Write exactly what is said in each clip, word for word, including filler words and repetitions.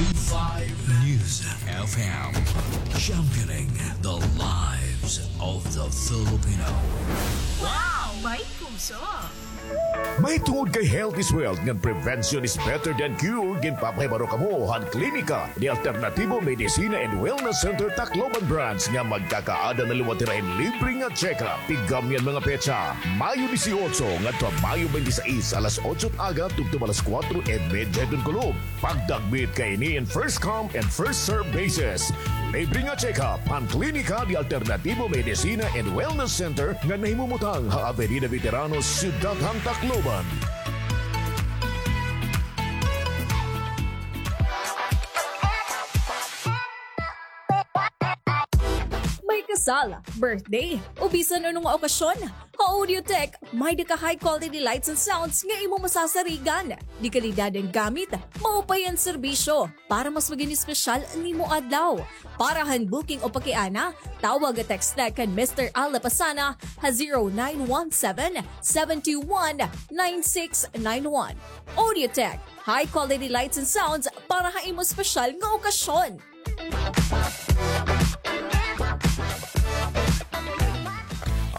Five News F M, championing the lives of the Filipino. Wow! May puso! Mahitungod kay health is wealth ngan prevention is better than cure, ginpapahibaro kamo han Klinika de Alternativo Medicina and Wellness Center Tacloban Branch nga magkakaada na liwat hira hin libre nga check-up. Tigam niyan mga petsa, Mayo dieciocho ngadto ha Mayo twenty-six, alas otso aga tubtob alas kuwatro y medya hiton kulop. Pagdagmit kaini in first come and first serve basis. Libre nga check-up han Klinika de Alternativo Medicina and Wellness Center nga nahimumutang ha Avenida Veteranos, Syudad han Tacloban. May kasal, birthday, o bisan ano nga okasyon, ha Audiotech, may-ada ka high quality lights and sounds nga imo masasarigan. De kalidad an gamit, maupay an serbisyo, para mas magin espesyal an imo adlaw. Para han booking o pakiana, tawag o text la kan Mister Al Lapasana ha zero nine one seven, seven two one, nine six nine one. Audiotech, high quality lights and sounds para ha imo espesyal nga okasyon.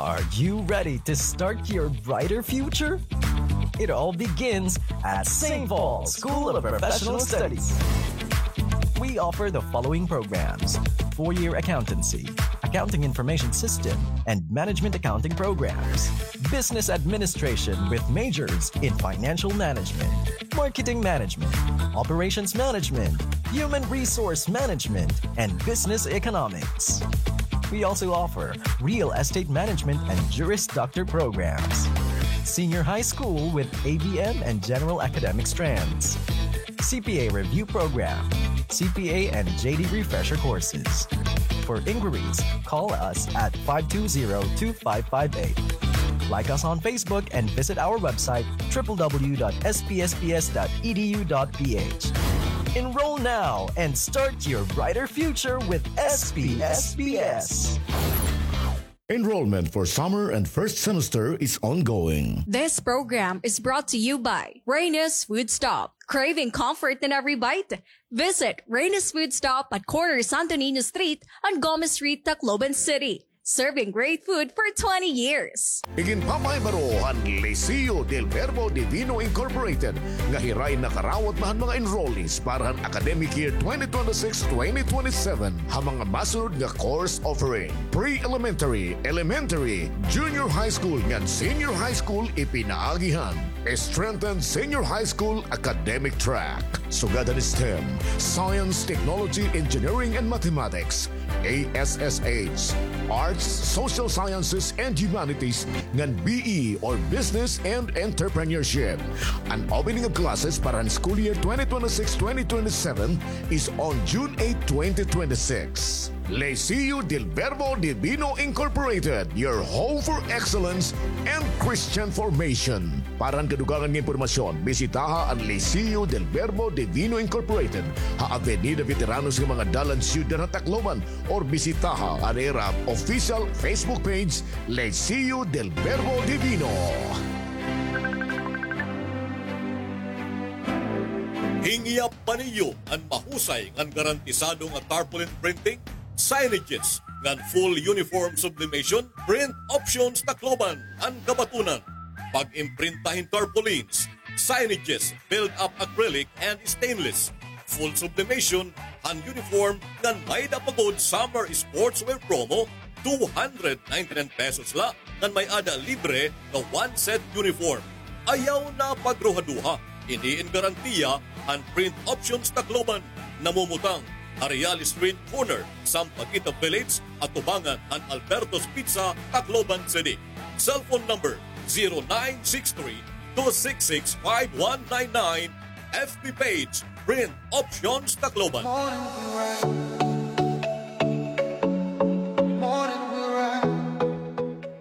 Are you ready to start your brighter future? It all begins at Saint Paul's School of Professional Studies. We offer the following programs: four-year accountancy, accounting information system, and management accounting programs, business administration with majors in financial management, marketing management, operations management, human resource management, and business economics. We also offer real estate management and Juris Doctor programs, senior high school with A B M and general academic strands, C P A review program, C P A and J D refresher courses. For inquiries, call us at five two zero, two five five eight. Like us on Facebook and visit our website, triple W dot S P S P S dot E D U dot P H. Enroll now and start your brighter future with S P S P S. Enrollment for summer and first semester is ongoing. This program is brought to you by Reyna's Food Stop. Craving comfort in every bite? Visit Reyna's Food Stop at corner Santo Niño Street and Gomez Street, Tacloban City. Serving great food for twenty years. Iginpapahibaro han Liceo del Verbo Divino Incorporated nga hira in nakarawat na han mga enrollees para han academic year twenty twenty-six, twenty twenty-seven ha mga masunod nga course offering: pre-elementary, elementary, junior high school ngan senior high school. Ipinaagi han strengthened senior high school academic track, sugad han STEM, Science, Technology, Engineering, and Mathematics, A S S H, Arts, Social Sciences, and Humanities, ngan B E or Business and Entrepreneurship. An opening of classes para han school year twenty twenty-six, twenty twenty-seven is on June eight, twenty twenty-six. Liceo del Verbo Divino Incorporated, your home for excellence and Christian formation. Para han kadugangan nga impormasyon, bisitaha an Liceo del Verbo Divino Incorporated ha Avenida Veteranos nga mga dalan, Syudad han Tacloban, or bisitaha an ira official Facebook page, Liceo del Verbo Divino. Hingyap pa niyo an mahusay ngan garantisado nga tarpaulin printing, signages, ngan full uniform sublimation? Print Options Tacloban an kabatunan. Pag-imprinta hin tarpaulins, signages, build-up acrylic and stainless, full sublimation han uniform, ngan may-ada pa gud summer sportswear promo, two hundred ninety-nine pesos la ngan may-ada libre nga one set uniform. Ayaw na pagruhaduha, ini in garantiya han Print Options Tacloban. Namumutang ha Real Street, corner Sampaguita Village, atubangan han Alberto's Pizza, Tacloban City. Cellphone number, zero nine six three, two six six, five one nine nine. F B page, Print Options Tacloban.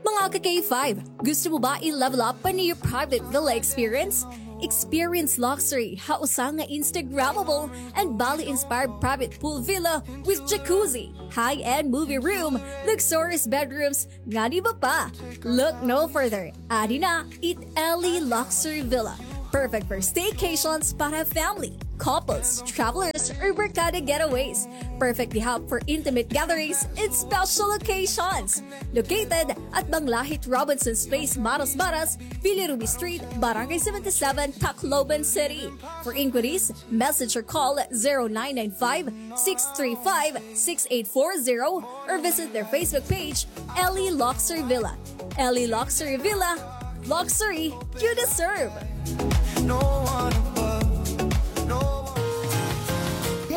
Mga ka K five, gusto mo ba i-level up pa an iyo private villa experience? Experience luxury ha usa nga Instagrammable and Bali-inspired private pool villa with jacuzzi, high-end movie room, luxurious bedrooms, ngan iba pa. Look no further. Adi na it Ellie Luxury Villa. Perfect for staycations para family, couples, travelers, or barkada getaways. Perfect gihap for intimate gatherings and special occasions. Located at Banglahit Robinson's Place, Maras Maras, Billy Ruby Street, Barangay seventy-seven, Tacloban City. For inquiries, message or call zero nine nine five, six three five, six eight four zero or visit their Facebook page, Ellie Luxury Villa. Ellie Luxury Villa, luxury you deserve.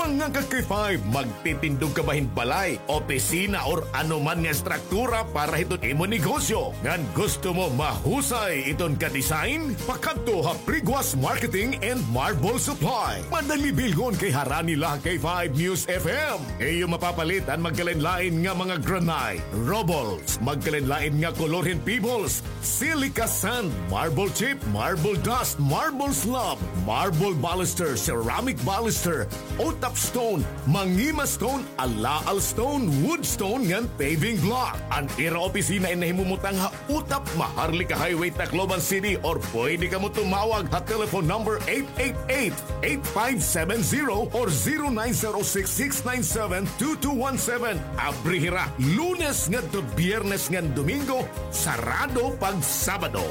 Mga ka-K five, magtitindog ka ba hin balay, opisina, or ano man nga estruktura para hiton imo negosyo? Ngan gusto mo mahusay iton ka-design? Pakadto ha Priguas Marketing and Marble Supply. Madali bilhon kay harani la ha K five News F M. Iyo mapapalit an magkalain-lain nga mga granite, rubbles, magkalain-lain nga kolor hin pebbles, silica sand, marble chip, marble dust, marble slab, marble baluster, ceramic baluster, Otap stone, Mangima stone, Alaal stone, wood stone ngan paving block. An ira opisina in nahimumutang ha Otap, Maharlika Highway, Tacloban City, or pwede kamo tumawag ha telephone number eight eight eight, eight five seven zero or zero nine zero six, six nine seven, two two one seven. Abri hira Lunes ngadto Biyernes ngan Domingo, sarado pag Sabado.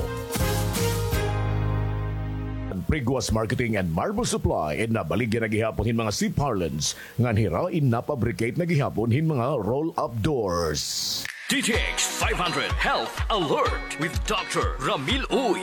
An Priguas Marketing and Marble Supply in nabaligya na gihapon hin mga C-parlance ngan hira in napabricate na gihapon hin mga roll-up doors. D T X five hundred Health Alert with Doctor Ramil Uy.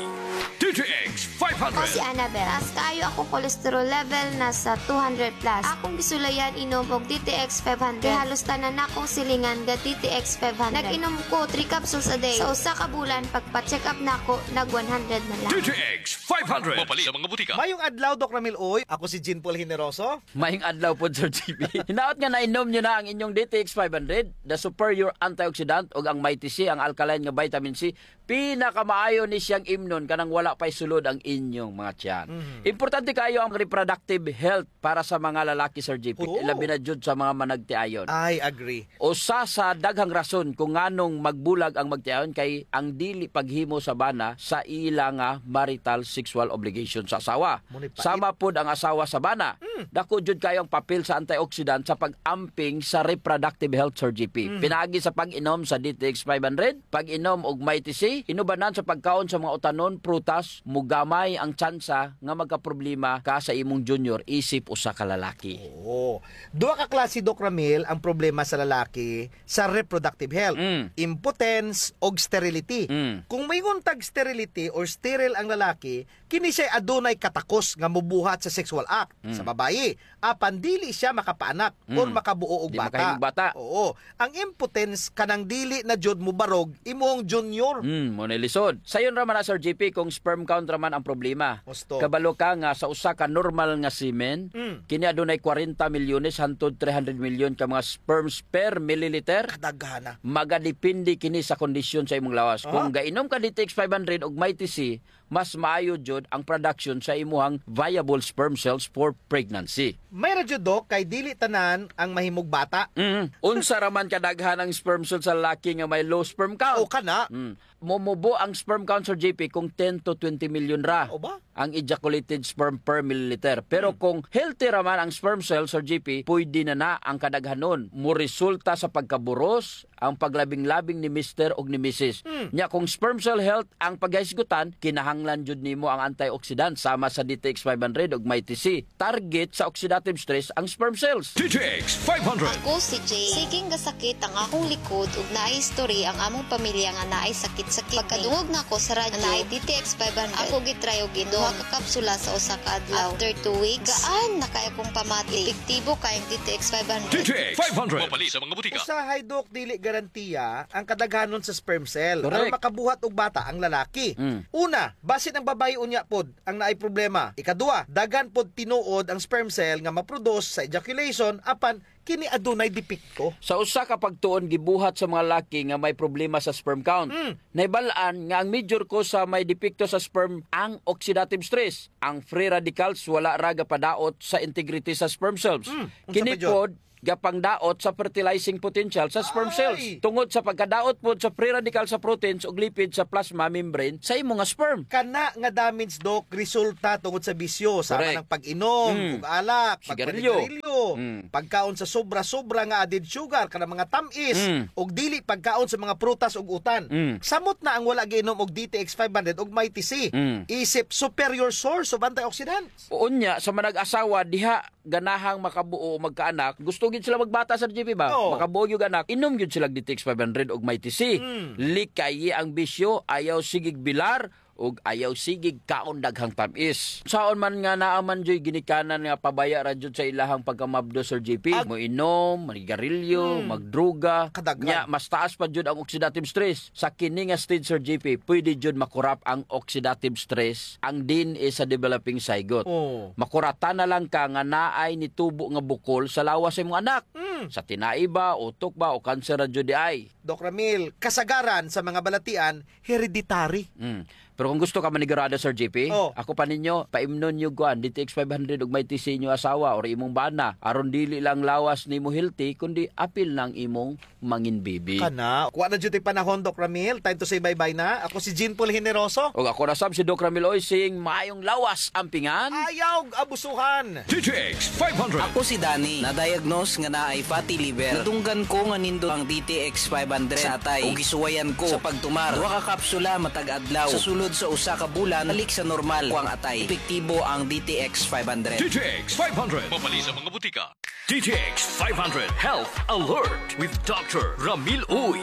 D T X five hundred. Ako si Annabel. Taas kaayo akong cholesterol level, nasa two hundred plus. Akong gisulayan inom og D T X five hundred. Kay halos tanan nakong silingan ga D T X five hundred. Nag-inom ko three capsules a day. Sa usa ka bulan, pagpa-check up nako, nag one hundred na lang. D T X five hundred. Mapalit sa mga butika. Mayong adlaw, Doc Ramil Uy. Ako si Jean Paul Generoso. Mayong adlaw pod, Sir G P. Hinaot nga nainom niyo na ang inyong D T X five hundred, the superior antioxidant, ug ang Mighty C, ang alkaline nga vitamin C. Pinakamaayo ni siyang imnon kanang wala pa'y sulod ang inyong mga tiyan. Mhm. Importante kaayo ang reproductive health para sa mga lalaki, Sir G P. Oo. Labi na jud sa mga managtiayon. I agree. Usa sa daghang rason kung nganong magbulag ang magtiayon kay ang dili paghimo sa bana sa ila nga marital sexual obligation sa asawa. Mao ni pait. Sama pod ang asawa sa bana. Mm. Dako jud kaayo ang papel sa antioxidant sa pag-amping sa reproductive health, Sir G P. Mm. Pinaagi sa pag-inom sa D T X five hundred, pag-inom og Mighty C, inubanan sa pagkaon sa mga utanon, prutas, mogamay ang tsansa nga magkaproblema ka sa imong junior isip usa ka lalaki. Oo. Duha ka klase, Doc Ramil, ang problema sa lalaki sa reproductive health. Mm. Impotence og sterility. Mm. Kung moingon tag sterility or sterile ang lalaki, kini siya'y adunay katakos nga mobuhat sa sexual act sa babayi. Apan dili siya makapaanak or makabuo og bata. Mm. Di makahimog bata. Oo. Ang impotence kanang dili na jud mobarog imong junior. Mm, mao na lisod. Sayon ra man na, Sir G P, kung sperm count ra man ang problema. Husto. Kabalo ka nga sa usa ka normal nga semen, mm, kini adunay kwarenta milyones hantod three hundred milyon ka mga sperms per milliliter. Kadaghana. Magadepende kini sa kondisyon sa imong lawas. Aha. Kung gainom ka D T X five hundred ug Mighty C, mas maayo jud ang production sa imuhang viable sperm cells for pregnancy. May ra jud, Doc, kay dili tanan ang mahimog bata. Mm. Unsa ra man kadaghan ang sperm cell sa lalaki nga may low sperm count? O, kana. Mm. Momubo ang sperm count, Sir G P, kung ten to twenty million ra. O ba? Ang ejaculated sperm per milliliter. Pero, hmm, kung healthy ra man ang sperm cell, Sir G P, pwede na na ang kadaghanon. Moresulta sa pagkaburos ang paglabing-labing ni mister ug ni misis. Hmm. Nya, kung sperm cell health ang paghisgutan, kinahanglan jud nimo ang antioxidant sama sa D T X five hundred ug Mighty C. Target sa oxidative stress ang sperm cells. D T X five hundred. Ako si Jane. Siging gasakit ang akong likod ug naay history ang among pamilya nga naay sakit-sakit. Pagkadungog nako sa radyo nga naay D T X five hundred, ako gitry og inom duha ka kapsula sa usa ka adlaw. After two weeks, gaan na kaayo akong pamati. Epektibo kaayo ang D T X five hundred. D T X five hundred. Mapalit sa mga butika. Usahay, Doc, dili garantiya ang kadaghanon sa sperm cell. Correct. Aron makabuhat og bata ang lalaki. Mm. Una, basin ang babayi unya pod ang naay problema. Ikaduha, daghan pod tinuod ang sperm cell nga ma-produce sa ejaculation, apan kini adunay depekto. Sa usa ka pagtuon gibuhat sa mga laki nga may problema sa sperm count. Mm. Nahibal-an nga ang major cause sa may depekto sa sperm ang oxidative stress. Ang free radicals wala ra gapadaot sa integrity sa sperm cells. Mm. Unsa pa jud? Kini pod gapangdaot sa fertilizing potential sa sperm cells. Tungod sa pagkadaot pod sa free radical sa proteins ug lipid sa plasma membrane sa imo nga sperm. Kana nga damage, Doc, resulta tungod sa bisyo, sama Correct. ng pag-inom Mm. ug alak, Sigarilyo. pagpanigarilyo, Mm. pagkaon sa sobra-sobra nga added sugar, kanang mga tamis, Mm. ug dili pagkaon sa mga prutas ug utan. Mm. Samot na ang wala giinom og D T X five hundred ug Mighty C. Mm. Isip superior source of antioxidants. Unya, sa manag-asawa, diha ganahang makabuo o magkaanak, gusto gyud sila magbata, Sir J P, ba? Oo. Makabuo gyud anak, inom gyud sila D T X five hundred ug Mighty C. Mm. Likayi ang bisyo, ayaw sigig bilar, ug ayaw sigig kaon daghang tam-is. Saon man nga naa man juy ginikanan nga pabaya ra jud sa ilahang pagkamabdos, Sir J P, Ag- moinom, manigarilyo, Mm. magdruga, Kadaghan. nya mas taas pa jud ang oxidative stress. Sa kini nga stage, Sir J P, pwede jud makurap ang oxidative stress, ang D N A sa developing zygote. Oh. Makuratan na lang ka nga naay nitubo nga bukol sa lawas sa imong anak. Mm. Sa tinai ba, utok ba, o kanser ra jud diay? Doc Ramil, kasagaran sa mga balatian, hereditary. Mm. Pero kung gusto ka manigurado, Sir J P, Oh. ako pa ninyo, paimnon niyo kuan, D T X five hundred ug Mighty C inyo asawa or imong bana. Aron dili lang lawas nimo healthy, kundi apil na ang imong mangin baby. Kana, kuha na jud tay panahon, Doc Ramil. Time to say bye-bye na. Ako si Jean Paul Generoso. Ug ako na sab si Doc Ramil Oysing. Maayong lawas, ampingan. Ayaw abusuhan. D T X five hundred. Ako si Danny. Na-diagnose nga naay fatty liver. Nadunggan ko nga nindot ang D T X five hundred sa atay. Ug gisuwayan ko sa pagtumar. Duha ka kapsula matag adlaw. Sa sulod sa usa ka bulan, balik sa normal ko ang atay. Epektibo ang D T X five hundred. D T X five hundred. Mapalit sa mga butika. D T X five hundred Health Alert with Doctor Ramil Uy.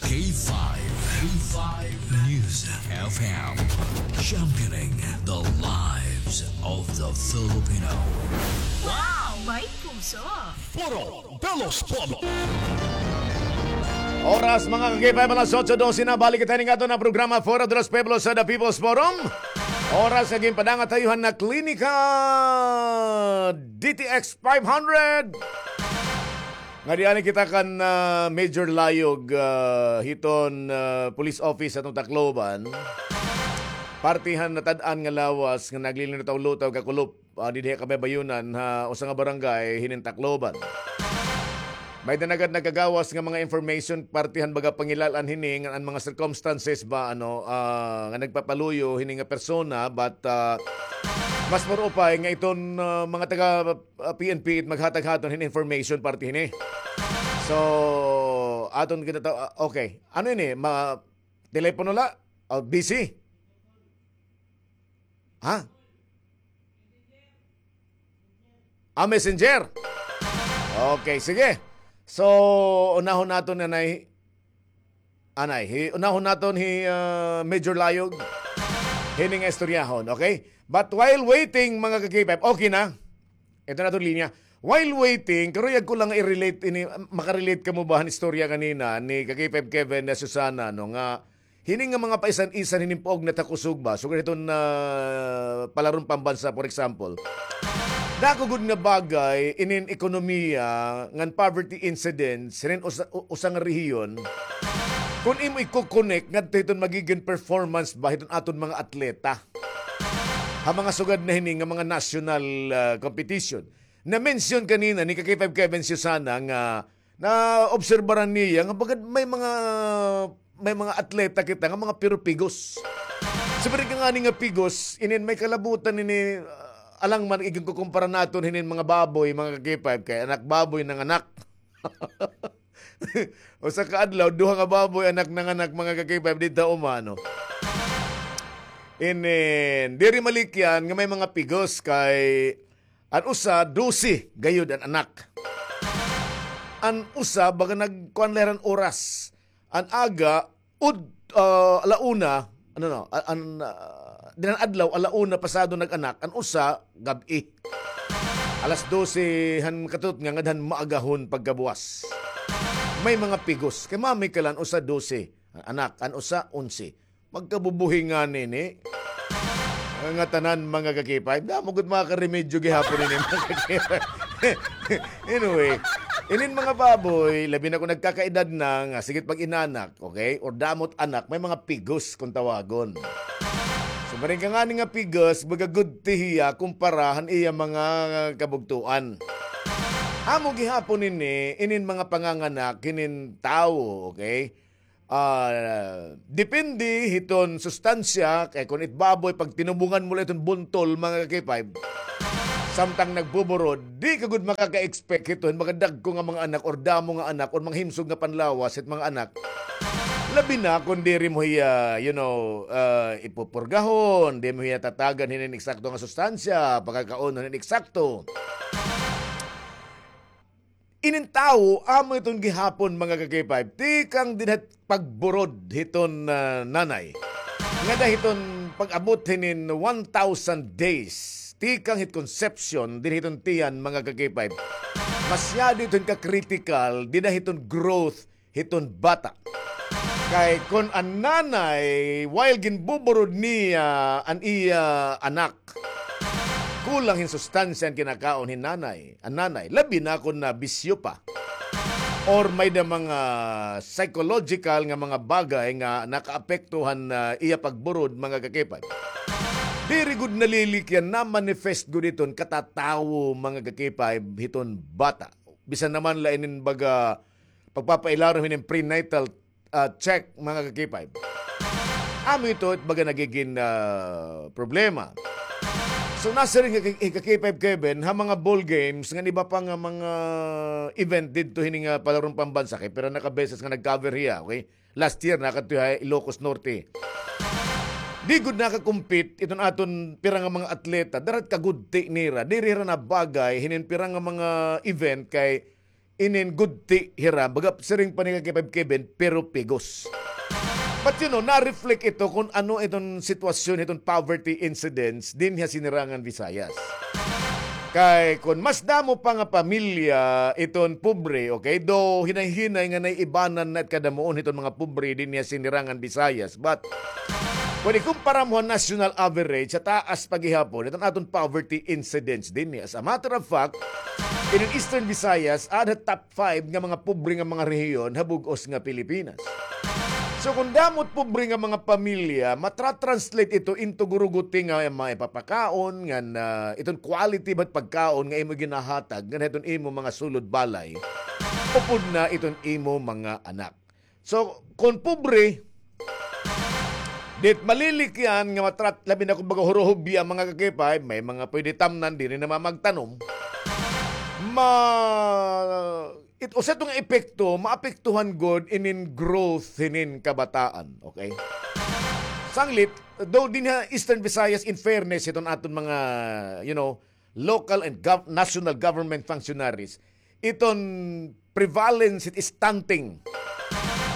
K five, K five News F M, championing the lives of the Filipino. Wow! May puso! Foro de los Pueblos. Oras, mga ka-K five, alas otso dose na. Balik kita ning aton nga programa, Foro de los Pueblos, sa The People's Forum. Oras nga ginpadangat ha iyo han Klinika D T X five hundred. Nga diani kita kan, ah, Major Layog, ah, hiton, ah, police office sa Tacloban. Parte han natad-an nga lawas nga naglilutaw-lutaw, kakulop, ah, didhi ha kabaybayonan ha usa nga barangay hinin Tacloban. May danagad nagkagawas nga mga information, parte han baga pangilal-an hini nga an mga circumstances ba, ano, ah, nga nagpapaluyo hini nga persona, but, ah, mas more upay nga iton, ah, mga taga, ah, P N P it maghatag haton hin information parte hini. So, aton kita ta-, ah, okay. Ano ini? Ma-, telepono la? O, busy? Ha? Ah, messenger. Okay, sige. So, unahon naton, anay. Anay, hi, unahon naton hi, ah, Major Layog. Hini nga istoryahon, okay? But while waiting, mga ka-K five, okay na. Ito na itong linya. While waiting, karuyag ko lang i-relate ini, makarelate kamo ba han istorya kanina ni ka-K five Kevin na Susana, no, nga hini nga mga paisan-isan hinin puog na takusog ba? Sugad hiton, ah, palaron pambansa, for example. Dako gud nga bagay inin ekonomiya ngan poverty incidence hinin usa, u-, usa nga rehiyon. Kun imo iko-connect ngadto hiton magigin performance ba hiton aton mga atleta ha mga sugad na hini nga mga national, ah, competition. Na-mention kanina ni ka-K five Kevin Susana nga naobserbaran niya nga bagad may mga, may mga atleta kita nga mga puro pigos. Siring ka ngani nga pigos, inin may kalabutan ini, ah, alang man igin kukumpara naton hinin mga baboy, mga ka-K five, kay anak baboy nanganak. Usa ka adlaw, duha nga baboy anak nanganak, mga ka-K five, didto umano. Inin, diri malikyan nga may mga pigos kay an usa, dose gayud an anak. An usa, baga nagkuan la hira hin oras. An aga, ud-, ah, ala una, ano, no, a-, an, ah, dinan adlaw, ala una pasado nag-anak, an usa, gab-i. Alas dose han katutnga ngadto han maagahon pagkabuwas. May mga pigos. Kay mami ka la, an usa, dose. An anak, an usa, onse. Magkabubuhi ngani ini. Nga tanan, mga ka-K five. Damo gud mga karemedyo gihapon ini, mga ka-K five. Anyway, inin mga baboy, labi na kung nagkakaedad na, nga sige it pag-inanak, okay? Or damo it anak, may mga pigos kung tawagon. So, siring ka ngani nga pigos, baga gudti hiya kumpara han iya mga kabugtoan. Amo gihapon ini, inin mga panganganak, inin tawo, okay? Ah, depende hiton sustansya, kay kun it baboy, pag tinubungan mo la iton buntol, mga ka-K five, samtang nagbuburod, di ka gud makaka-expect hiton mga dagko nga mga anak or damo nga anak or mga himsog nga panlawas hit mga anak. Labi na kun diri mo hiya, you know, ah, ipupurgahon, di mo hiya tatagan hinin eksakto nga sustansya, pagkakaon hinin eksakto. Inin tawo, amo iton gihapon, mga ka-K five, tikang dinhi hit pagburod hiton, ah, nanay. Ngada hiton pag-abot hinin one thousand days, tikang hit conception dinhi hiton tiyan, mga ka-K five. Masyado iton ka-critical dinhi hiton growth hiton bata. Kay kun an nanay, while ginbuburod niya an iya anak, kulang hin sustansya an kinakaon hin nanay, an nanay, labi na kun nabisyo pa. Or may da mga psychological nga mga bagay nga nakaapekto han, ah, iya pagburod, mga ka-K five. Diri gud nalilikyan, na-manifest gud iton katatawo, mga ka-K five, hiton bata. Bisan naman la inin baga pagpapailarom hinin prenatal, ah, check, mga ka-K five. Amo ito, it baga nagigin, ah, problema. So, nasiring hi ka-, hi ka-K five Kevin, ha mga ball games, ngan iba pa nga mga event didto hini nga palarong pambansa, kay pira na ka beses nga nag-cover hiya, okay? Last year, nakadto ha Ilocos Norte. Di gud naka-compete iton aton pira nga mga atleta, darat kagudti nira, diri hira nabagay hinin pira nga mga event kay inin gudti hira, baga siring pa ni ka-K five Kevin, pero pigos. But you know, na-reflect ito kun ano iton sitwasyon, iton poverty incidence dinhi ha Sinirangan Visayas. Kay kun mas damo pa nga pamilya iton pobre, okay? Though hinay-hinay nga naiibanan na it kadamuon hiton mga pobre dinhi ha Sinirangan Visayas. But kun ikumpara mo ha national average, ha taas pa gihapon iton aton poverty incidence dinhi. As a matter of fact, inin Eastern Visayas, ada ha top five nga mga pobre nga mga rehiyon ha bug-os nga Pilipinas. So, kun damo it pobre nga mga pamilya, matra-translate ito into guruguti nga maipapakaon, ngan, ah, iton quality ba it pagkaon nga imo ginahatag ngan hiton imo mga sulod balay, upod na iton imo mga anak. So, kun pobre, di it malilikyan nga matrat-, labi na kun baga huruhubya, mga ka-K five, may mga pwede tamnan, diri na mamagtanom. Ma-, it, usa ito nga epekto, maapektuhan gud inin growth hinin kabataan, okay? Sanglit, though dinhi ha Eastern Visayas, in fairness, iton aton mga, you know, local and gov-, national government functionaries, iton prevalence hit stunting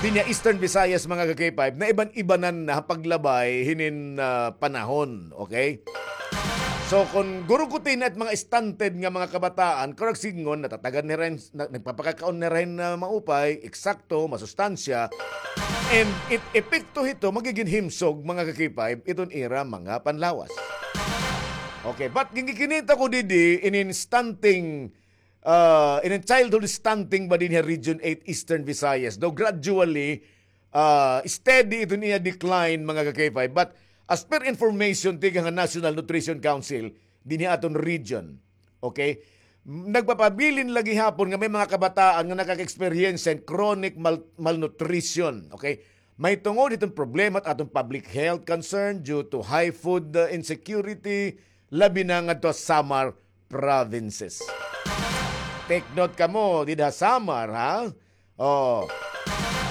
dinhi ha Eastern Visayas, mga ka-K five, naiban-ibanan na ha paglabay hinin, ah, panahon, okay? So, kun guruguti na it mga stunted nga mga kabataan, kurang sidngon, natatagan nira hin, na, nagpapakakaon nira hin, ah, maupay, eksakto, masustansya, and it epekto hito, magigin himsog, mga ka-K five, iton ira mga panlawas. Okay, but ginkikinita ko didi, inin stunting ah, inin childhood stunting ba dinhi ha Region eight Eastern Visayas. Though gradually, ah, steady iton iya decline, mga ka-K five. But as per information tikang ha National Nutrition Council, dinhi ha aton region, okay, nagpapabilin la gihapon nga may mga kabataan nga nakaka-experience hin chronic mal-, malnutrition, okay? Mahitungod hiton problema it aton public health concern due to high food, uh, insecurity, labi na ngadto ha Samar provinces. Take note kamo, dida ha Samar, ha? Oh.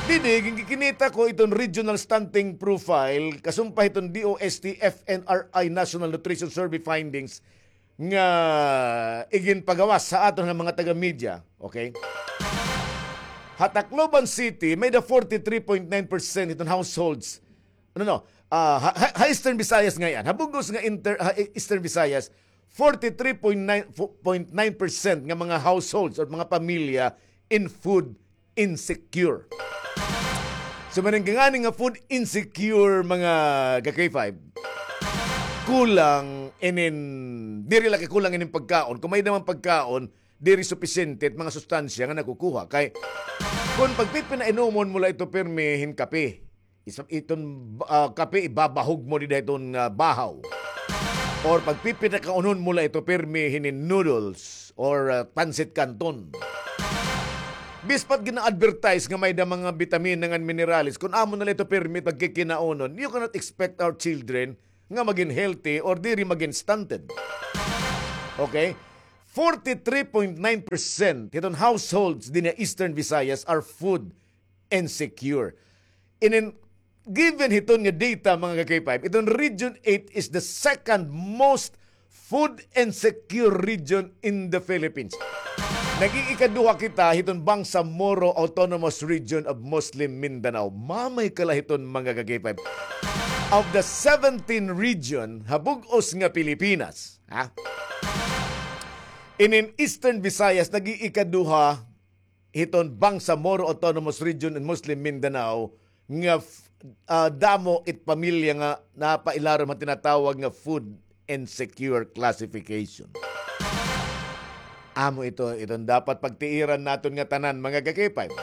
Didi, ginkikinita ko iton regional stunting profile, kasumpay hiton D O S T F N R I National Nutrition Survey findings nga iginpagawas sa aton nga mga taga-media, okay? Ha Tacloban City, may-ada forty-three point nine percent hiton households. No, no. Ah, ha, ha, ha Eastern Visayas ngay-an. Ha bug-os nga inter-, ha E-, Eastern Visayas, forty-three point nine, fo-, point nine percent nga mga households or mga pamilya in food insecure. So, maning ngani nga food insecure, mga ka-K five, kulang inin, diri la kay kulang inin pagkaon. Kun may-ada man pagkaon, diri supisyente it mga sustansya nga nakukuha. Kay, kun pagpipinainomon mo la ito pirmi hin kape, Isa, iton, ah, kape, ibabahog mo dida hiton, ah, bahaw. Or pagpipinakaunon mo la ito pirmi hinin noodles or, ah, pancit canton. Bispat gina-advertise nga may-ada mga bitamina ngan minerales, kun amo na la ito pirmi pagkikinaunon, you cannot expect our children nga magin healthy or diri magin stunted. Okay? Forty-three point nine percent hiton households dinhi ha Eastern Visayas are food insecure. Inin, given hiton nga data, mga ka-K five, iton Region eight is the second most food insecure region in the Philippines. Nag-iikaduha kita hiton Bangsamoro Autonomous Region of Muslim Mindanao. Mamay ka la hiton, mga ka-K five. Of the seventeen region ha bug-os nga Pilipinas, ha? Inin Eastern Visayas, nag-iikaduha hiton Bangsamoro Autonomous Region and Muslim Mindanao nga f-, ah, damo it pamilya nga napailarom han tinatawag nga food insecure classification. Amo ito, iton dapat pagtiiran naton nga tanan, mga ka-K five.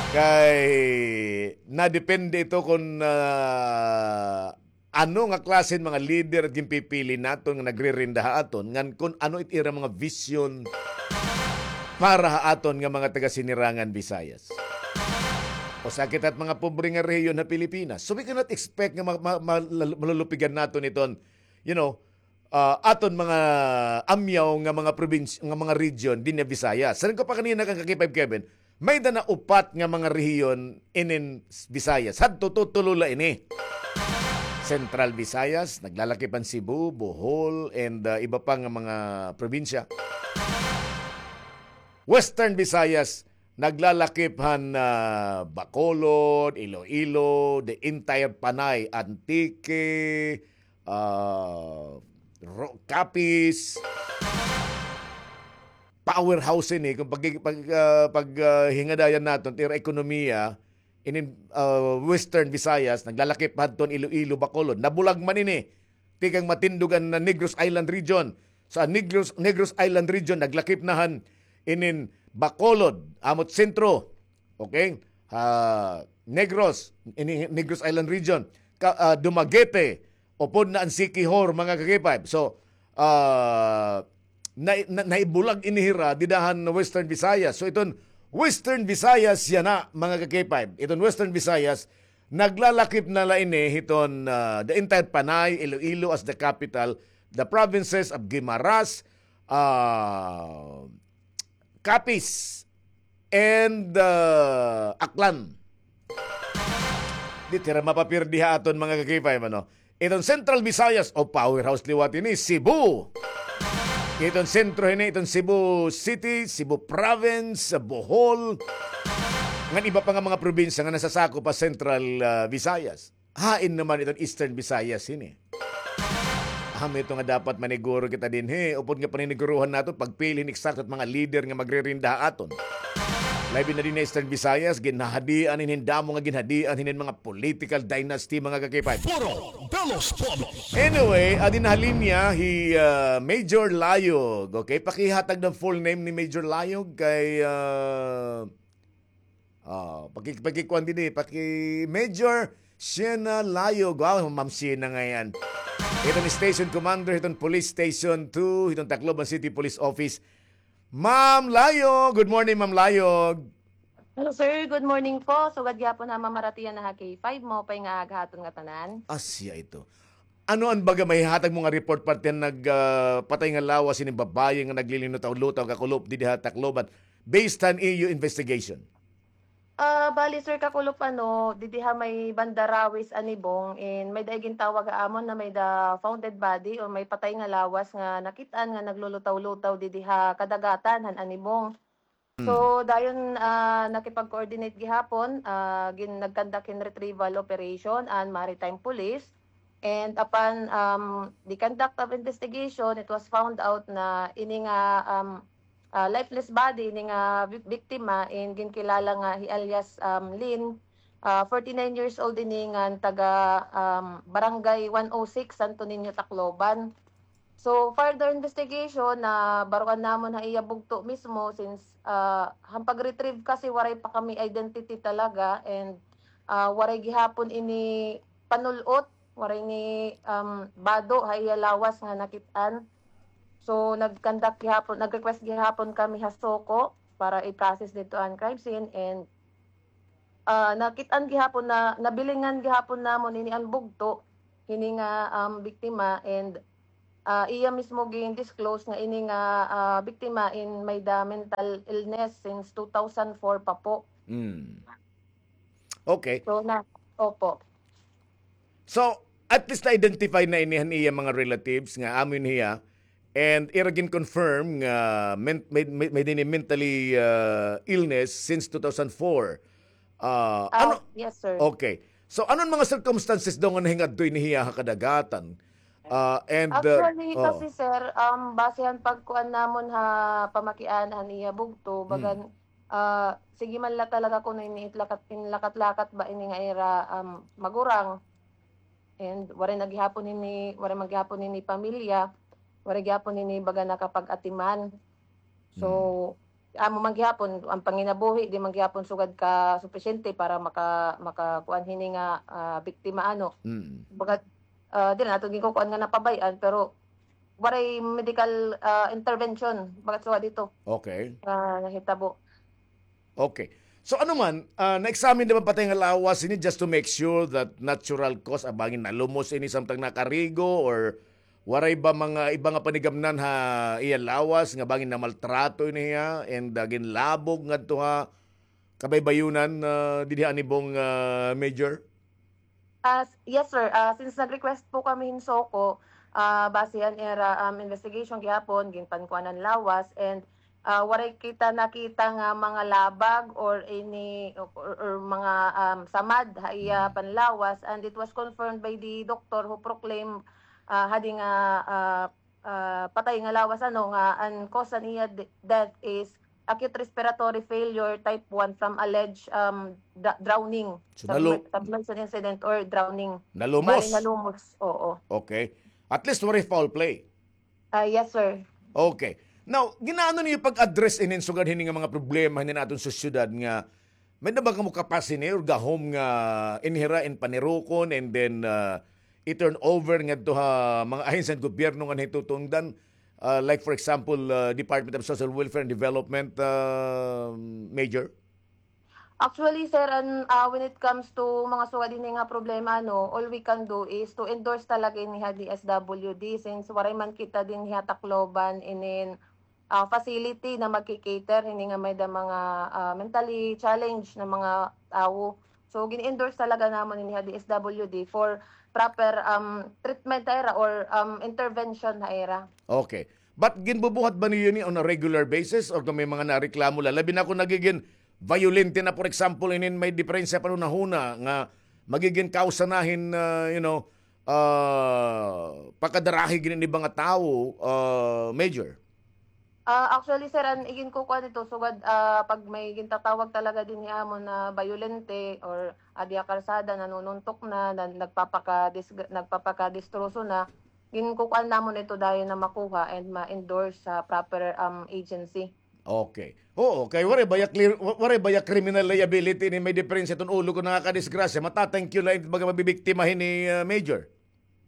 Kay nadepende ito kun, ah, ano nga klase hin mga lider it ginpipili naton nga nagririnda ha aton, ngan kun ano it ira mga vision para ha aton nga mga taga-Sinirangan Visayas. Usa kita hit mga pobre nga rehiyon ha Pilipinas. So we cannot expect nga ma-, ma-, ma-, lal-, malulupigan naton iton, you know, ah, aton mga amyaw nga mga probinsya, nga mga region dinhi ha Visayas. Siring ko pa kanina kan ka-K five Kevin, may-ada na upat nga mga rehiyon inin Visayas. Hadto tutulo la ini. Central Visayas, naglalakip han Cebu, Bohol, and, ah, iba pa nga mga probinsya. Western Visayas, naglalakip han, ah, Bacolod, Iloilo, the entire Panay, Antique, ah, Ro-, Capiz. Powerhouse ini, kun pag-, pag-, ah, pag, ah, hingadayan naton, it ira ekonomiya, inin, ah, Western Visayas, naglalakip hadton Iloilo, Bacolod. Nabulag man ini. Tikang matindog an Negros Island Region. Sa Negros, Negros Island Region, naglakip na han inin Bacolod, amo it sentro. Okay? Ah, Negros, ini Negros Island Region. Ka-, ah, Dumaguete, upod na an Siquijor, mga ka-K five. So, ah, na, na, naibulag ini hira dida han Western Visayas. So, iton Western Visayas yana, mga ka-K five. Iton Western Visayas, naglalakip na la ini hiton, ah, the entire Panay, Iloilo as the capital, the provinces of Guimaras, ah, Capiz, and, ah, Aklan. Di it hira mapapirdi ha aton, mga ka-K five, ano? Iton Central Visayas, o, powerhouse liwat ini, Cebu. Iton sentro hini, iton Cebu City, Cebu Province, Bohol, ngan iba pa nga mga probinsya nga nasasakop ha Central, ah, Visayas. Hain naman iton Eastern Visayas hini? Amo ito nga dapat maniguro kita dinhi. Upod nga paniniguruhan naton, pagpili hin eksakto hit mga lider nga magririnda ha aton. Labi na dinhi ha Eastern Visayas, ginhahadian hinin damo nga ginhadian hinin mga political dynasty, mga ka-K five. Foro de los Pueblos. Anyway, adi na ha linya hi, ah, Major Layog. Okay, pakihatag hin full name ni Major Layog kay, ah, ah, paki-, pakikuan dinhi, paki-, Major Sienna Layog. Wow, Ma'am Sienna ngay-an. Iton station commander hiton Police Station two, hiton Tacloban City Police Office. Ma'am Layog, good morning, Ma'am Layog. Hello, sir. Good morning po. Sugad gihapon ha mamaratiyan na ha K five, maupay nga aga ha aton ngatanan. Asya ito. Ano an baga mahihatag mo nga report parte han nag, ah, patay nga lawas hinin babaye nga naglilutaw-lutaw, kakulop, didi ha Tacloban, based han iyo investigation? Ah, bali, sir, kakulop, ano, didi ha may banda Rawis, Anibong, and may-ada gintawag ha amon na may-ada found dead body or may patay nga lawas nga nakit-an nga naglulutaw-lutaw didi ha kadagatan han Anibong. So, dayon, ah, nakipag-coordinate gihapon, ah, gin-, nag-conduct hin retrieval operation an Maritime Police. And upon, um, the conduct of investigation, it was found out na ini nga, um, ah, lifeless body, ini nga bi-, biktima, in ginkilala nga hi alias, um, Lynn, ah, forty-nine years old ini ngan taga, um, Barangay one oh six, Santo Niño, Tacloban. So, further investigation, nabaroan namon ha iya bugto mismo since, ah, han pag-retrieve kasi waray pa kami identity talaga and, ah, waray gihapon ini panul-ot Waray ni, um, bado ha iya lawas nga nakit-an. So, nag-conduct gihapon, nag-request gihapon kami ha SOCO para i-process didto an crime scene, and, ah, nakit-an gihapon na, nabilingan gihapon namon ini an bugto hini nga, um, biktima, and, ah, iya mismo gin-disclose nga ini nga, ah, biktima in may-da mental illness since two thousand four pa po. Mm. Okay. So, na, opo. So, at least na-identify na ini han iya mga relatives nga amo ini hiya, and ira gin-confirm nga men-, may, may, may dinhi mentally, uh, illness since two thousand four. Uh, Ah, ano? Yes, sir. Okay. So, ano an mga circumstances daw nga nahingadto ini hiya ha kadagatan? Uh, and, uh, Actually, oh. Kasi, sir, um, base han pagkuan namon ha pamakian han iya bugto, Hmm. bagan, ah, sige man la talaga kuno ini it lakat-, in lakat-lakat ba ini nga ira, um, magurang. And waray na gihapon ini, waray man gihapon ini pamilya, waray gihapon ini baga nakapag-atiman. So, Hmm. amo man gihapon, an panginabuhi, di man gihapon sugad ka supisyente para maka-, makakuan hini nga, ah, biktima, ano. Mm. Baga, ah, di na naton ginkukuan nga napabay-an, pero waray medical, ah, intervention, baga sugad dito, Okay. ah, nahitabo. Okay. So, ano man, ah, na-examine na ba an patay nga lawas ini just to make sure that natural cause, ah, bangin nalumos ini samtang nakarigo, or waray ba mga iba nga panigamnan ha iya lawas nga bangin namaltrato ini hiya and, ah, ginlabog ngadto ha kabaybayonan, ah, dinhi ha Anibong, ah, Major? Ah, s-, yes, sir. Ah, since nag-request po kami hin SOCO, ah, base han ira, um, investigation gihapon, ginpankuan an lawas, and, ah, waray kita nakita nga mga labag or any, or, or mga, um, samad ha iya panlawas, and it was confirmed by the doctor who proclaimed, ah, hadi nga, ah, ah, patay nga lawas, ano, nga an cause han iya de-, death is acute respiratory failure type one from alleged, um, dra-, drowning. So, nalu- Submer-, submersion incident or drowning. Nalumos? Bali, nalumos, oo. Okay. At least waray foul play. Ah, yes, sir. Okay. Now, gin-aano niyo pag-address inin sugad hini nga mga problema hini aton sosyedad nga may-da ba kamo kapas hini or gahom nga inhira in panirukon and then, ah, i-turn over ngadto ha mga ahensya han gobyerno nga nahitutundan, ah, like for example, ah, Department of Social Welfare and Development, ah, Major? Actually, sir, an, ah, when it comes to mga sugad hini nga problema, no, all we can do is to endorse talaga ini ha D S W D since waray man kita dinhi ha Tacloban inin, ah, facility na magki-cater hini nga may-da mga, ah, mentally challenged na mga tawo. So, gin-endorse talaga namon ini ha D S W D for proper, um, treatment ha ira or, um, intervention ha ira. Okay. But ginbubuhat ba niyo ini on a regular basis or kung may mga nareklamo la? Labi na kung nagigin violente na, for example, inin may diperensya panhunahuna nga magigin kausa na hin, ah, you know, ah, pakadarahi gin-iba nga tawo, ah, Major? Ah, actually, sir, an iginkukuan dito, sugad, ah, pag may gintatawag talaga dinhi ha amon na bayolente or adi ha kalsada, nanununtok na, na nagpapakadis-, nagpapakadistroso na, ginkukuan namon ito dayon na makuha and ma-endorse sa proper, um, agency. Okay. Oo, kay waray baya clear, wa-, waray baya criminal liability ini may diperensya iton ulo kon nakakadisgrasya. Mata-thank you la it mga mabibiktima hini, ah, Major.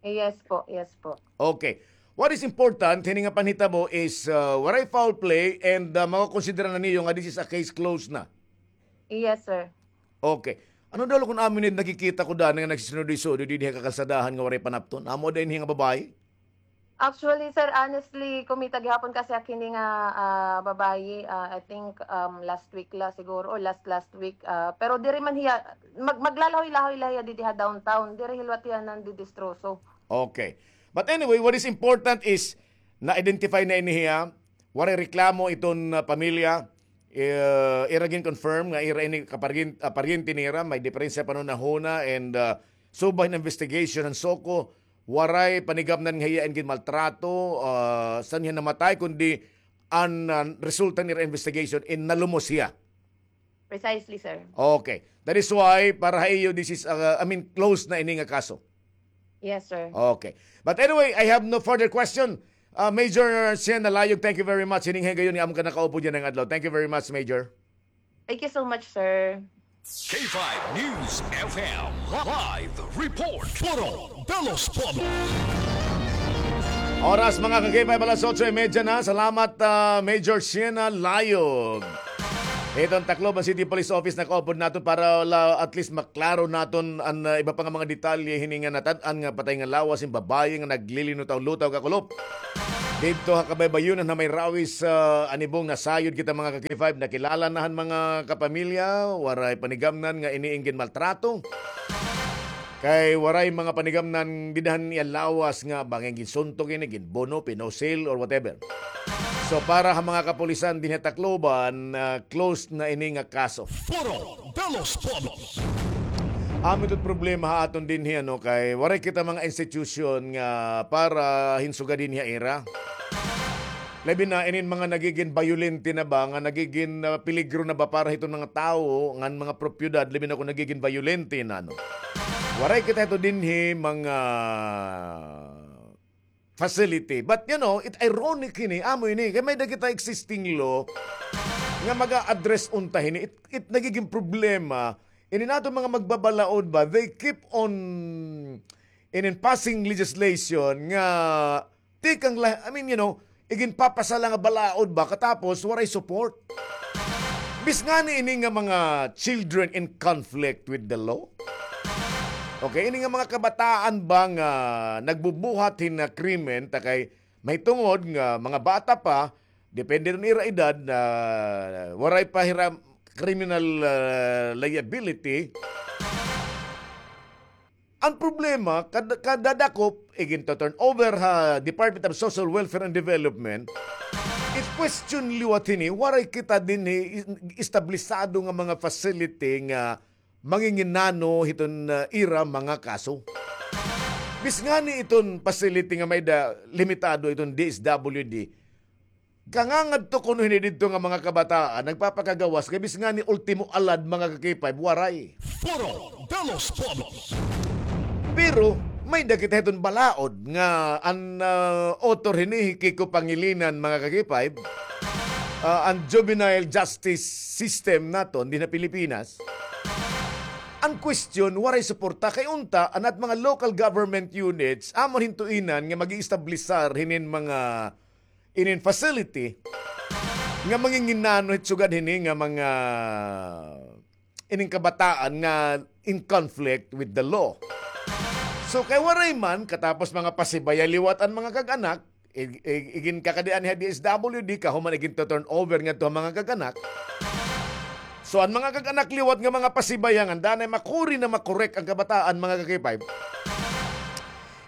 Yes po, yes po. Okay. What is important, hini nga panhitabo is, ah, waray foul play and, ah, makokonsidera na niyo nga this is a case closed na. Yes, sir. Okay. Ano daw kon amo ini nakikita ko dani nga nagsisunod-sunod dinhi ha kakalsadahan nga waray panapton? Amo daw ini nga babayi? Actually, sir, honestly, kumita gihapon kasi ak hini nga, ah, babayi, ah, I think, um, last week la siguro or last, last week. Ah, pero diri man hiya, mag-, maglalahoy-lahoy la hiya didi ha downtown. Diri hilwat hiya nandidistroso. Okay. But anyway, what is important is na-identify na ini hiya, waray reklamo iton, ah, pamilya, eh, ira gin-confirm nga ira ini kaparyen-, ah, paryente nira, may diperensya panhunahuna and, ah, subay hin investigation han SOCO, waray panigamnan nga hiya in ginmaltrato, ah, san hiya namatay, kundi an, ah, resulta han ira investigation in nalumos hiya. Precisely, sir. Okay. That is why, para ha iyo, this is, uh, I mean, closed na ini nga kaso. Yes, sir. Okay. But anyway, I have no further question. Uh, Major Shen Nalayog, thank you very much. Hining higayon nga amon ka nakaupod yana nga adlaw. Thank you very much, Major. Thank you so much, sir. K five News F M live report. Foro de los Pueblos. Oras, mga ka-K five, alas otso y media na. Salamat, ah, Major Siena Layog. Iton Tacloban City Police Office nakaupod naton para la, at least maklaro naton an, ah, iba pa nga mga detalye hini nga natad-an nga patay nga lawas hin babaye nga naglilinutaw-lutaw kakulop. Didto ha kabaybayonan ha may Rawis, ah, Anibong, nasayod kita, mga ka-K five, nakilala na han mga kapamilya, waray panigamnan nga ini in ginmaltrato. Kay waray mga panigamnan dida han iya lawas nga bangin ginsuntok ini, ginbuno, pinusil, or whatever. So, para ha mga kapulisan dinhi ha Tacloban, ah, closed na ini nga kaso. Foro de los Pueblos. Amo ito problema ha aton dinhi, ano, kay waray kita mga institution nga para hin sugad dinhi ha ira. Labi na inin mga nagigin bayolente na ba, nga nagigin, ah, peligro na ba para hiton mga tawo, ngan mga propiedad, labi na kon nagigin bayolente na, no. Waray kita hito dinhi mga facility. But, you know, it ironic hini, amo ini, kay may-ada kita existing law nga mag-a-address unta hini. It, it nagigin problema, ini naton mga magbabalaod ba, they keep on in, in passing legislation nga tikang la, I mean, you know, iginpapasa la nga balaod ba, katapos waray support. Bis ngani ini nga mga children in conflict with the law. Okay, ini nga mga kabataan ba nga nagbubuhat hin, ah, krimen, ta kay mahitungod nga mga bata pa, depende hin ira edad, na waray pa hira criminal, ah, liability. An problema, kad-, kadadakop, iginto-turn over ha Department of Social Welfare and Development, it question liwat hini, waray kita dinhi is-, establisado nga mga facility nga manginginano hiton, ah, ira mga kaso. Bis ngani iton facility nga may-ada limitado iton D S W D, kangangadto kuno hini didto nga mga kabataan, nagpapakagawas, kay bis ngani ultimo alad, mga ka-K five, waray. Foro de los Pueblos. Pero, may-ada kita hiton balaod nga an, ah, author hini hi Kiko Pangilinan, mga ka-K five, ah, an juvenile justice system naton dinhi ha Pilipinas. An question, waray suporta kay unta, an at mga local government units, amo hin tuinan nga mag-iestablisar hinin mga inin facility nga manginginano hit sugad hini nga mga inin kabataan nga in conflict with the law. So, kay waray man, katapos mga pasibaya liwat an mga kag-anak, ig-, ig-, iginkakadi-an ha D S W D, kahuman iginto-turn over ngadto ha mga kag-anak. So, an mga kag-anak liwat nga mga pasibaya ngan danay makuri na makorek an kabataan, mga ka-K five.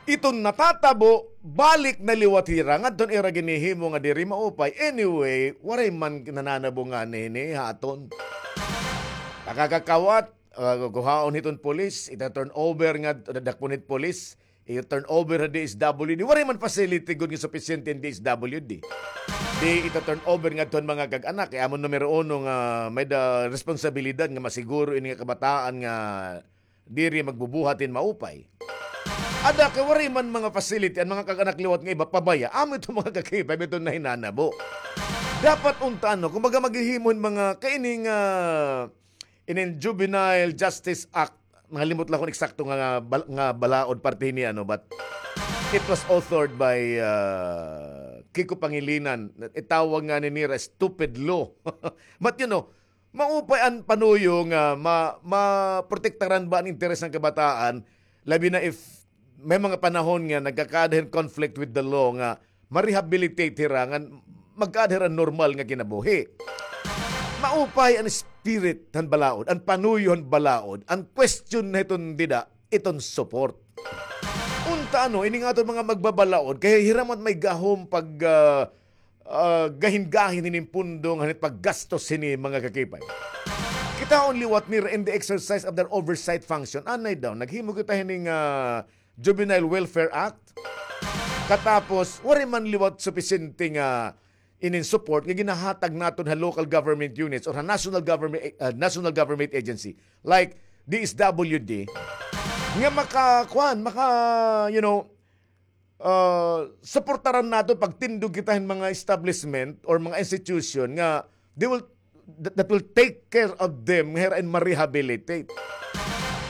Iton natatabo, balik na liwat hira ngadto han ira ginhihimo nga diri maupay. Anyway, waray man nananabo ngani hini ha aton. Nakakakawat, ah, kuhaon hiton pulis, ita-turn over nga, dakpon hit pulis, ita-turn over ha D S W D. Waray man facility gud nga supisyente an D S W D. Di ita-turn over ngadto han mga kag-anak, kay amo numero uno nga may-ada responsibilidad nga masiguro ini nga kabataan nga diri magbubuhat hin maupay. Ada kay waray man mga facility, an mga kag-anak liwat nga iba pabaya, amo ito mga ka-K five, ito nahinanabo. Dapat unta, ano, kumbaga maghihimo hin mga kaining, ah, inin Juvenile Justice Act, nakalimot la kon eksakto nga, nga bal-, nga balaod parte hini, ano, but it was authored by, ah, Kiko Pangilinan. Itawag ngani nira stupid law. But, you know, maupay an panuyo nga ma-, maprotektaran ba an interes han kabataan, labi na if may mga panahon nga nagkakaada hin conflict with the law nga ma-rehabilitate hira, nga magkaada hira normal nga kinabuhi. Maupay an spirit han balaod, an panuyo han balaod, an question na hiton dida, iton support. Unta, ano, ini nga aton mga magbabalaod, kay hira man may gahom pag, ah, ah, gahin-gahin hinin pundo nga hit paggastos hini, mga ka-K five. Kitaon liwat nira in the exercise of their oversight function. Anay daw, naghimo kita hini nga Juvenile Welfare Act. Katapos, waray man liwat supisyente nga inin support nga ginahatag naton ha local government units or ha national government, ah, national government agency like D S W D nga maka, kuan, maka, you know, ah, suportaran naton pagtindog kita hin mga establishment or mga institution nga they will that, that will take care of them, nga hira in ma-rehabilitate.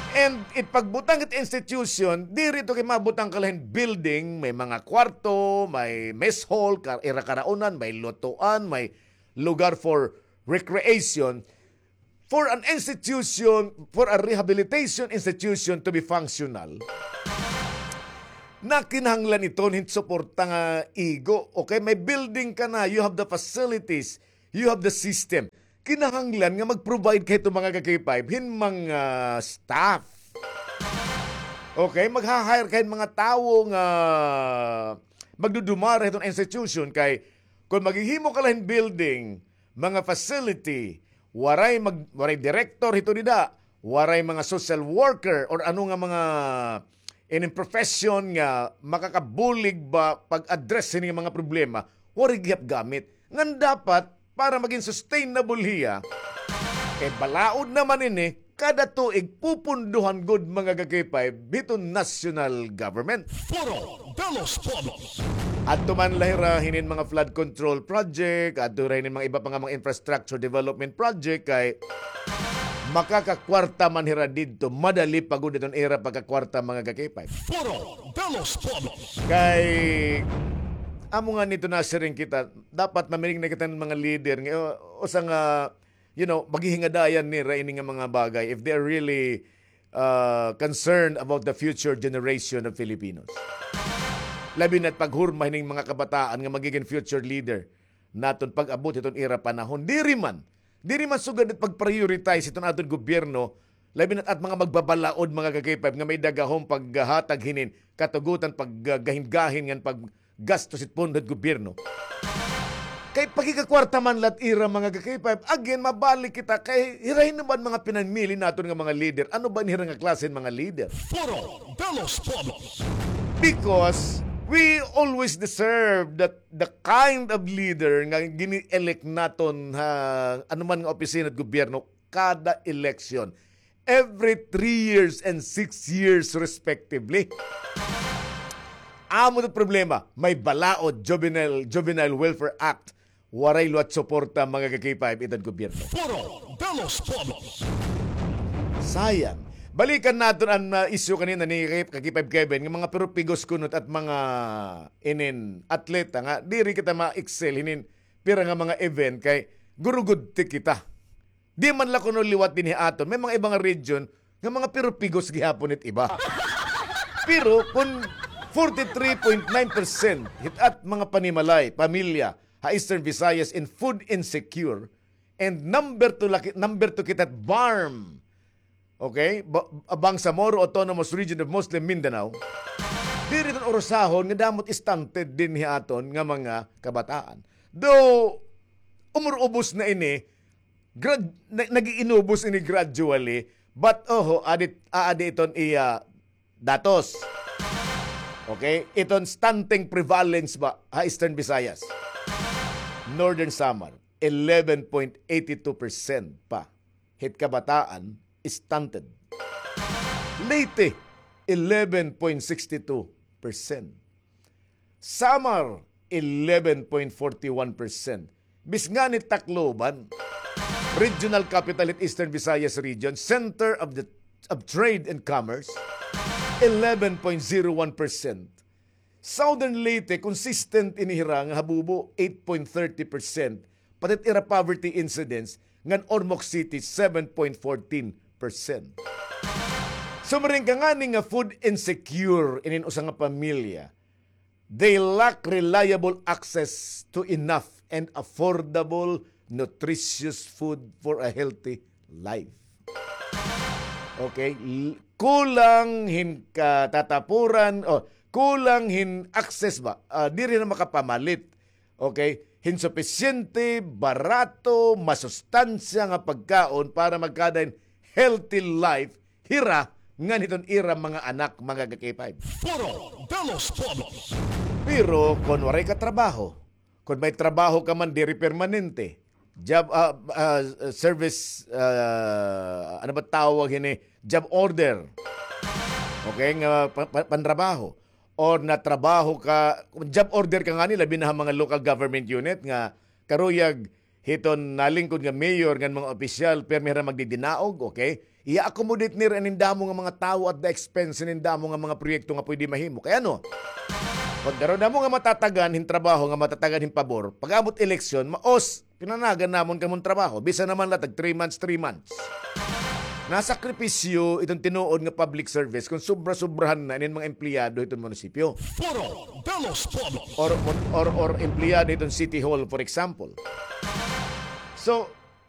And it pagbutang it institution, diri to kay mabutang ka la hin building, may mga kwarto, may mess hall, ka-, ira karaunan, may lutuan, may lugar for recreation, for an institution, for a rehabilitation institution to be functional, na kinahanglan iton hin suporta nga igo. Okay, may building ka na, you have the facilities, you have the system. Kinahanglan nga mag-provide ka hito, mga ka-K five, hin mga staff. Okay, magha-hire ka hin mga tawo nga magdudumara hiton institution kay kon maghihimo ka la hin building, mga facility, waray mag-, waray direktor hito dida, waray mga social worker or ano nga mga inin profession nga makakabulig ba pag-address hini nga mga problema, waray gihap gamit. Ngan dapat, para magin sustainable hiya, kay balaod naman ini, kada tuig pupunduhan gud, mga ka-K five, hiton national government. Foro de los Pueblos. Adto man la hira hinin mga flood control project, adto hira hinin mga iba pa nga mga infrastructure development project, kay makakakwarta man hira didto, madali pa gud iton ira pagkakwarta, mga ka-K five. Foro de los Pueblos. Kay, amo nga nito nasiring kita, dapat mamiling na kita hin mga leader nga, uh, usa nga, you know, maghihingadayan nira ini nga mga bagay if they are really, uh, concerned about the future generation of Filipinos. Labi na't paghurma hining mga kabataan nga magigin future leader naton pag-abot hiton ira panahon. Diri man, diri man sugad it pag-prioritize hiton aton gobyerno, labi na't at mga magbabalaod, mga ka-K five, nga may dagahon paghatag hinin katugutan, paggahingahin ngan paggastos hit pondo hit gobyerno. Kay pakikakwarta man la't ira, mga ka-K five. Again, mabalik kita kay hira hin ba an mga pinamili naton nga mga leader? Ano ba an hira nga klase hin mga leader? Foro de los Pueblos. Because we always deserve that the kind of leader nga gini-elect naton ha anuman nga opisina hit gobyerno kada election. Every three years and six years respectively. Amo it problema, may balaod, Juvenile, Juvenile Welfare Act, waray liwat suporta, mga ka-K five, iton gobyerno. Foro de los Pueblos. Sayang. Balikan naton an, ah, issue kanina ni ka-, ka-K five Kevin, nga mga pirupigos kunot at mga inin atleta nga diri kita ma-excel hinin pira nga mga event kay gurugudti kita. Di man la kuno liwat dinhi aton, may mga iba nga region nga mga pirupigos gihapon it iba. Pero kon forty-three point nine percent hit at mga panimalay, pamilya, ha Eastern Visayas in food insecure, and number two laki-, number two kita at BARMM. Okay? Ba-, Bangsamoro Autonomous Region of Muslim Mindanao. Diri iton urusahon nga damo it stunted dinhi aton nga mga kabataan. Though, umurubos na ini, grad-, na-, nag-iinubos ini gradually, but, oho, adi, aadi iton iya datos. Okay? Iton stunting prevalence ba ha Eastern Visayas? Northern Samar, eleven point eighty two percent pa hit kabataan stunted. Leyte, eleven point sixty two percent. Samar, eleven point forty one percent. Bis ngani Tacloban, regional capital hit Eastern Visayas region, center of the, of trade and commerce, eleven point zero one percent. Southern Leyte, consistent ini hira nga habubo, eight point thirty percent. Pati it ira poverty incidence, ngan Ormoc City, seven point fourteen percent. Sumiring ka ngani nga food insecure inin usa nga pamilya, they lack reliable access to enough and affordable, nutritious food for a healthy life. Okay? L-, kulang hin katatapuran, o kulang hin access ba? Ah, diri na makapamalit. Okay? Hin supisyente, barato, masustansya nga pagkaon para magkada hin healthy life hira ngan hiton ira mga anak, mga ka-K five. Foro de los Pueblos. Pero kon waray ka trabaho, kon may trabaho ka man, diri permanente. Job, ah, ah, service, ah, ano ba tawag hini? Job order. Okay, nga pa-, pa-, pantrabaho. Or natrabaho ka, job order ka ngani, labi na ha mga local government unit nga karuyag hiton nalingkod nga mayor ngan mga opisyal, pirmi hira magdidinaog, okay? Iya-accommodate nira inin damo nga mga tawo at the expense inin damo nga mga proyekto nga pwede mahimo. Kay ano? Pag garo namo nga matatagan hin trabaho nga matatagan hin pabor, pag-abot eleksyon, maos, pinanagan namon kamon trabaho. Bisan naman la tag three months, three months. Nasakripisyo iton tinuod nga public service kung sobra-sobrahan na inin mga empleyado hiton munisipyo. Foro de los Pueblos. Or, or, or empleyado hiton City Hall, for example. So,